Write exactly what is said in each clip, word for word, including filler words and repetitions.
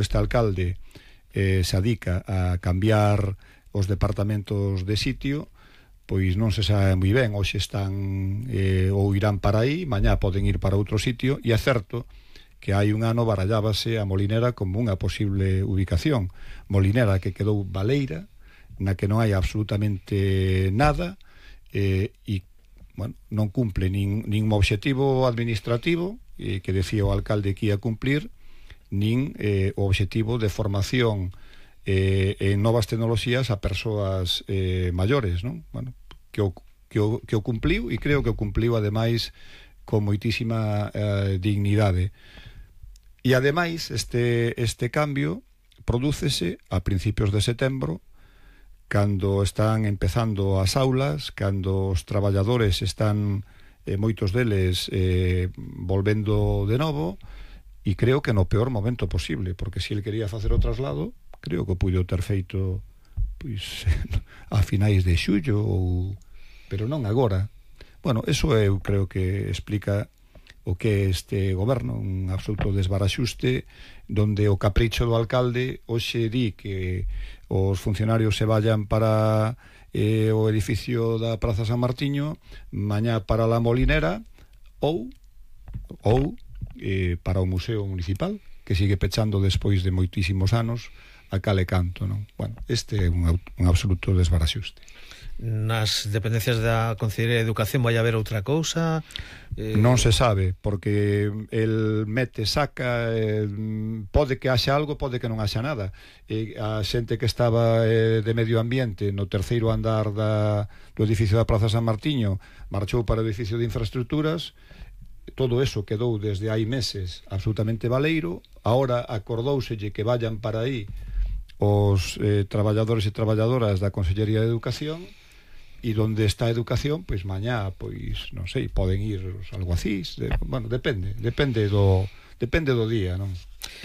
este alcalde eh, se adica a cambiar os departamentos de sitio, pois non se sabe moi ben, hoxe están eh, ou irán para aí, mañá poden ir para outro sitio, e é certo que hai un ano barallábase a Molinera como unha posible ubicación. Molinera que quedou baleira, na que non hai absolutamente nada, eh, e bueno, non cumple nin, nin obxectivo administrativo eh, que decía o alcalde que ia cumplir, nin eh, o obxectivo de formación eh, en novas tecnoloxías a persoas eh, maiores, non? Bueno, que o, que, o, que o cumpliu, e creo que o cumpliu ademais con moitísima eh, dignidade. E ademais este, este cambio prodúcese a principios de setembro, cando están empezando as aulas, cando os traballadores están, eh, moitos deles, eh, volvendo de novo, e creo que no peor momento posible, porque se ele quería facer o traslado, creo que o puido ter feito pois a finais de xullo, ou... pero non agora. Bueno, eso eu creo que explica o que é este goberno, un absoluto desbaraxuste, donde o capricho do alcalde hoxe di que os funcionarios se vayan para eh, o edificio da Praza San Martiño, mañá para la Molinera, ou ou eh, para o Museo Municipal, que sigue pechando despois de moitísimos anos a cal e canto, non? Bueno, este é un, un absoluto desbaraxuste. Nas dependencias da Consellería de Educación vai haber outra cousa? Eh... Non se sabe, porque el mete, saca, eh, pode que haxa algo, pode que non haxa nada. E a xente que estaba eh, de medio ambiente no terceiro andar da, do edificio da Praza San Martiño marchou para o edificio de infraestructuras. Todo eso quedou desde hai meses absolutamente baleiro. Ahora acordouselle que vayan para aí os eh, traballadores e traballadoras da Consellería de Educación, e donde está a educación, pois mañá, pois, non sei, poden ir os alguacís, de, bueno, depende, depende do depende do día, non?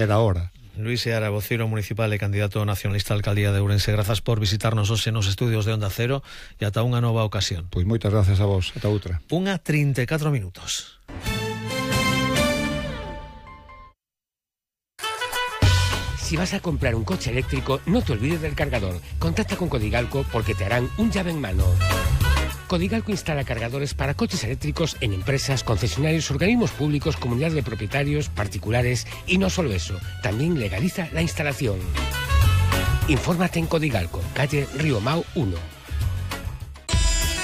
É da hora. Luis Seara, voceiro municipal e candidato nacionalista á alcaldía de Ourense, grazas por visitarnos hoxe nos estudios de Onda Cero, e ata unha nova ocasión. Pois moitas grazas a vos, ata outra. Unha trinta e catro minutos. Si vas a comprar un coche eléctrico, no te olvides del cargador. Contacta con Codigalco porque te harán un llave en mano. Codigalco instala cargadores para coches eléctricos en empresas, concesionarios, organismos públicos, comunidades de propietarios, particulares, y no solo eso, también legaliza la instalación. Infórmate en Codigalco, calle Río Mau uno.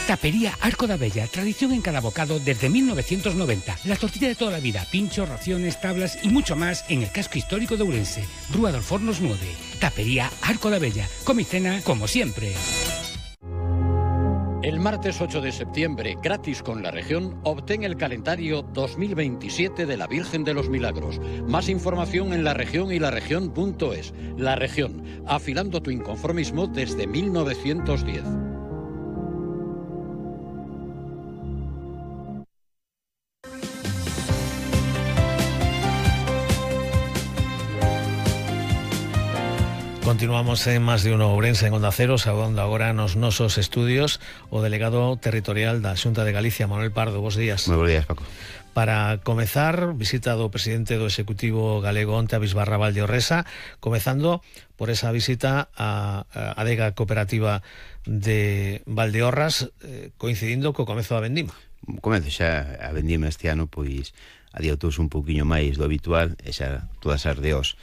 Tapería Arco da Bella, tradición en cada bocado desde mil novecientos noventa. La tortilla de toda la vida, pinchos, raciones, tablas y mucho más en el casco histórico de Ourense. Rúa dos Fornos nueve. Tapería Arco da Bella. Come y cena como siempre. El martes ocho de septiembre, gratis con La Región, obtén el calendario dos mil veintisiete de la Virgen de los Milagros. Más información en La Región y laregión punto es. La Región, afilando tu inconformismo desde mil novecientos diez. Continuamos en Más de Uno Ourense en Onda Cero, saudando agora nos nosos estudios o delegado territorial da Xunta de Galicia, Manuel Pardo. Bos días. Moi bos días, Paco. Para comezar, visita do presidente do Executivo galego onte a Bisbarra Valdeorresa, comezando por esa visita a a adega cooperativa de Valdeorras, eh, coincidindo co comezo da vendima. Comezo xa a vendima este ano, pois adioutouse un pouquiño máis do habitual, e xa todas as deos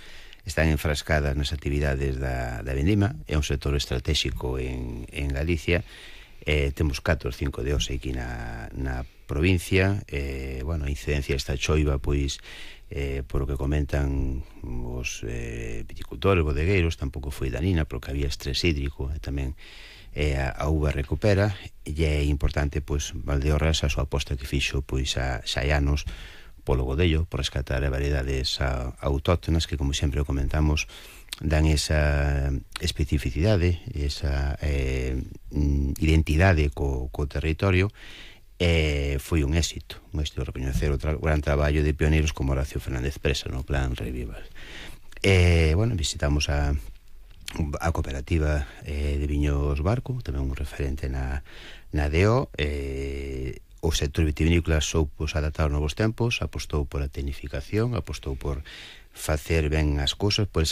están enfrascadas nas actividades da, da vendima. É un sector estratégico en, en Galicia. Eh, temos catro ou cinco deos aquí na, na provincia. Eh, bueno, a incidencia esta choiva, pois, eh, por o que comentan os eh, viticultores, bodegueiros, tampouco foi danina, porque había estrés hídrico, e tamén eh, a, a uva recupera, e é importante, pois, Valdeorras, a súa aposta que fixo, pois, a xa hai anos, polo godello, por rescatar variedades autóctonas que, como sempre o comentamos, dan esa especificidade, esa eh, identidade co, co territorio. Eh, foi un éxito, un éxito recoñecer o, tra o gran traballo de pioneiros como Horacio Fernández Presa no plan Revival. Eh, bueno, visitamos a, a cooperativa eh, de Viños Barco, tamén un referente na, na D O. eh, O sector vitivinícola soupo adaptar aos novos tempos, apostou por a tecnificación, apostou por facer ben as cousas por esa